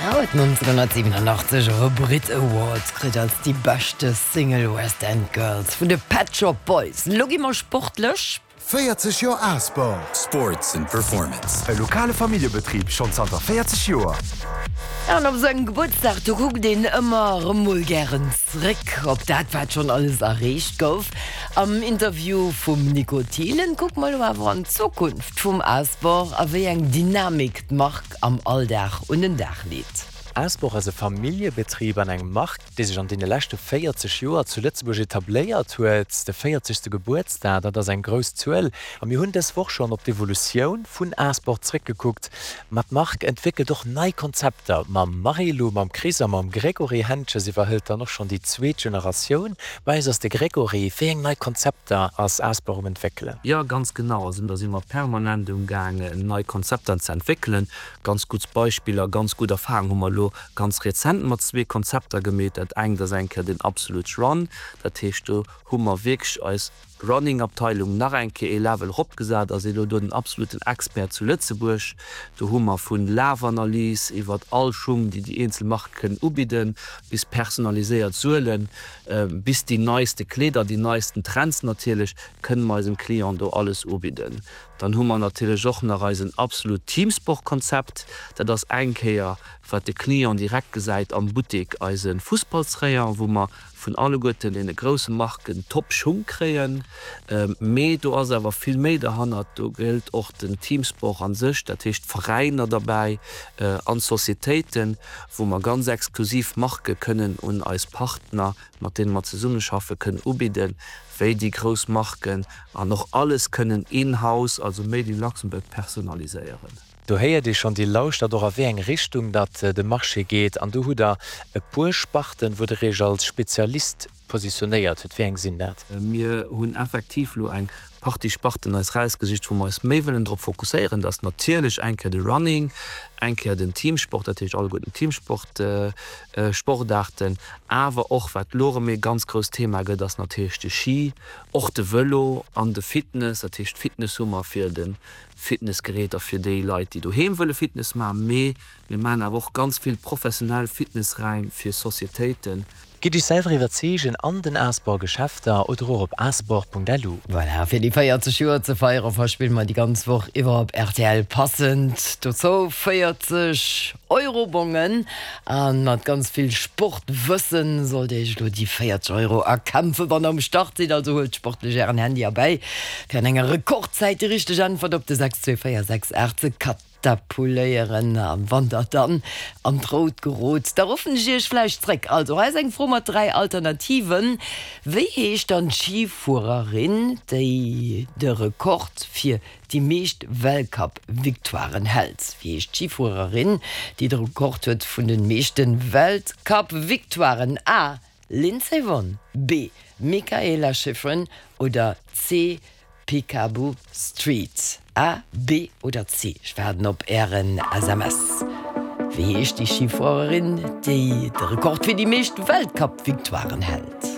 Huet 1987 och e Brit Award kritt als déi beschte Single West End Girls vun de Pet Shop Boys. Lo gi mer sportlech. 40 Joer Asport! Sports and Performance. E lokale Familljebetrib schonn zanter 40 Joer. An op esou engem Gebuertsdag, do kuckt een ëmmer erëm mol gären zréck op dat, wat schonn alles erreecht gouf. Am Interview vum Nico Thielen kucke mer elo awer an d'Zukunft vum Asport a wéi eng Dynamik d'Mark am Alldag un den Dag leet. Asport ass e Familljebetrib an eng Mark, déi sech an deene leschte 40 Joer zu Lëtzebuerg etabléiert huet. De véierzegste Gebuertsdag, dat ass eng grouss Zuel. A mir hunn dës Woch schonn op d'Evolutioun vun Asport zréckgekuckt. Ma d'Mark entwéckelt och nei Konzepter. Mam Marilou, mam Chris a mam Grégory Hentges iwwerhëlt dann och schonn déi zweet Generatioun. Bei eis ass de Grégory. Wéi eng nei Konzepter ass Asport um entwéckelen? Jo, ganz genau. Also do si mer permanent um gaangen, nei Konzepter ze entwéckelen. Ganz gutt Beispiller, ganz gutt Erfahrung hu mer elo ganz rezent mat zwee Konzepter gemeet. Dat engt ass eng Kéier den Absolute Run, dat heescht do hu mer wierklech eis Running-Abteilung nach eng Kéier ee Level eropgesat a si elo do den absoluten Expert zu Lëtzebuerg. Do hu mer vu Lafanalys iwwert all Schung, déi déi eenzel Marke kënnen ubidden, bis personaliséiert Suelen, bis déi neiste Kleeder, déi neisten Trends natierlech, kënne mer eisem Client do alles ubidden. Dann hu mer natierlech och nach eisen absolut Teamsport-Konzept. Dat ass eng Kéier, wat de Client direkt gesäit am Buttek, eise Fussballsrayon, wou mer vun alleguerten deene grousse Marken Top-Schung kréien. Mee do ass awer vill méi derhannert. Do gëllt och den Teamsport a sech, dat heescht d'Veräiner derbäi an d'Societéiten, wou mer ganz exklusiv Marke kënnen un eis Partner, mat deene mer zesummeschaffe, kënnen ubidden. wéi déi grouss Marken, an och alles kënnen in-house, also made in Luxembourg, personaliséieren. Do héiert ee schonn, Dir lauschtert och a wéi eng Richtung datt de Marché geet. An do hutt Der e puer Sparten, wou Der Iech als Spezialist positionéiert hutt. Wéi eng sinn dat? Mir hunn effektiv elo eng Partie Sparten eis rausgesicht, wou mer eis méi wëllen drop fokusséieren. Dat ass natierlech eng Kéier de Running, eng Kéier den Teamsport, dat heescht alleguerten d'Teamsport, Sportaarten, awer och, wat elo erëm ee ganz grousst Thema gëtt, ass natierlech de Ski, och de Vëlo an de Fitness. Dat heescht, Fitness hu mer fir de Fitnessgeräter fir déi Leit, déi doheem wëlle Fitness maachen, mee mir maachen awer och ganz vill professionell Fitnessräim fir Societéiten. Gitt Iech selwer iwwerzeegen an den Asport Geschäfter oder och op asport.lu. Voilà, fir déi 40 Joer ze feiere verspille mer déi ganz Woch iwwer op rtl passend dozou 40 Euro-Bongen. A mat ganz vill Sportwëssen sollt Dir Iech elo déi 40 Euro erkämpfen, wann Der um Start sidd. Also huelt sportlech Ären Handy erbäi, fir an enger Rekordzäit déi richteg Äntwert op de 62468 ze katapuléieren. A wann Der dann an d'Rout gerot, da ruffen ech Iech vläicht zréck. Also hei ass eng Fro mat 3 Alternativen, Wéi heescht dann d'Schifuererin, déi de Rekord fir déi meescht Weltcup-Victoiren hält. Wéi heescht d'Schifuererin, déi de Rekord huet vun de meeschte Weltcup-Victoiren? A. Lindsey Vonn, B. Mikaela Shiffrin oder C. Picabo Street? A, B oder C? Ech waarden op Ären SMS. Wéi heescht déi Schifuererin, déi de Rekord fir déi meescht Weltcup-Victoiren hält?